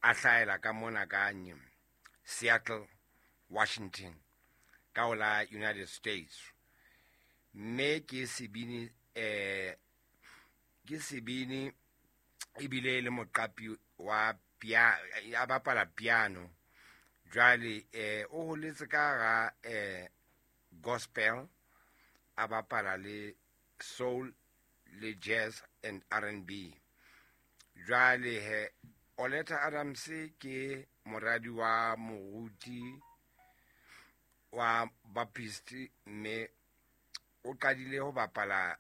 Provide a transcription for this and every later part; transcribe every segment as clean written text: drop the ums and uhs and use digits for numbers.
A hlahela ka mona ka Seattle, Washington, ka ho la United States. Mme ke sebini ke sebini ebile e le moqapi wa pia a bapala piano. Jwale o holetse ka hara gospel, a bapala le soul le jazz and R&B. Jwale he Oleta Adams ke moradi wa moruti wa Baptist, mme o qadile ho bapala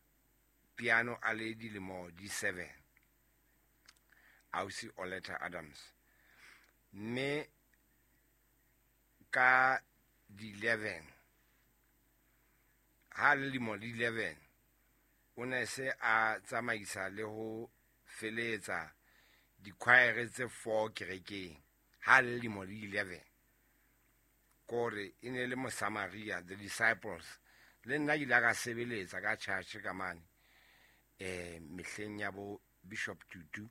piano a le dilemo di 7, ausi Oleta Adams. Mme ka di 11, ha le lemo di 11, o ne se a tsamaisa le ho feletsa dikhwaere tse 4 kerekeng ha le lemo di 11. Kore e ne le Mosamaria, the Disciples. Le nna ke ile ka sebeletsa ka church ka mane mehleng ya bo Bishop Tutu,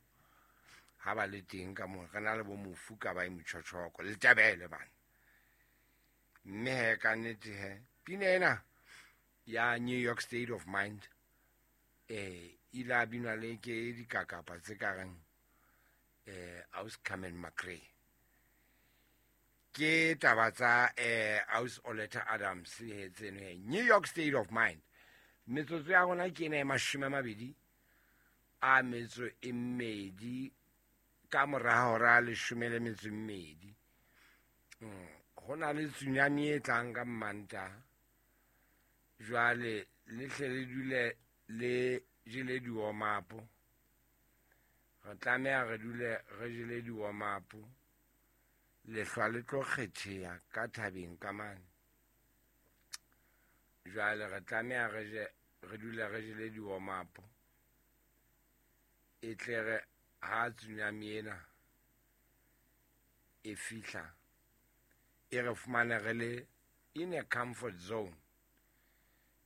ha ba le teng ka moo, re na le bo mofu ka ba e motjhotjhoko le Tebele bana. Mme he ka nnete he pina ena ya New York State of Mind ile a binwa le ke dikakapa tse ka reng aus Carmen McRae. Ke taba tsa aus Oleta Adams he tseno he, New York State of Mind. Metsotso ya rona ke ena e 22 ka mora hora 12. Ho na le tsunami e tlang ka Mmantaha. Jwale le hle le dule le jele diwomapo. Re tlameha re dule re jele diwomapo. Lehlwa le tlo kgetheha ka thabeng ka mane. Jwale re tlameha re je, re dule re jele diwomapo. E tle re ha tsunami ena e fihla, e re fumane re le in a comfort zone.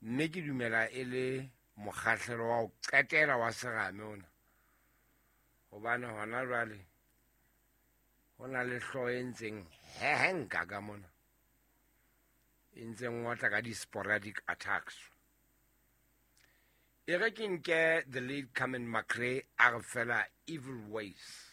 Mme ke dumela e le mokgahlelo wa ho qetela wa serame ona, hobane hona jwale ho na le hlooho e ntseng hehenka ka mona, e ntseng ngotla ka di-sporadic attacks. E re ke nke the late Carmen McRae a re fela Evil Ways.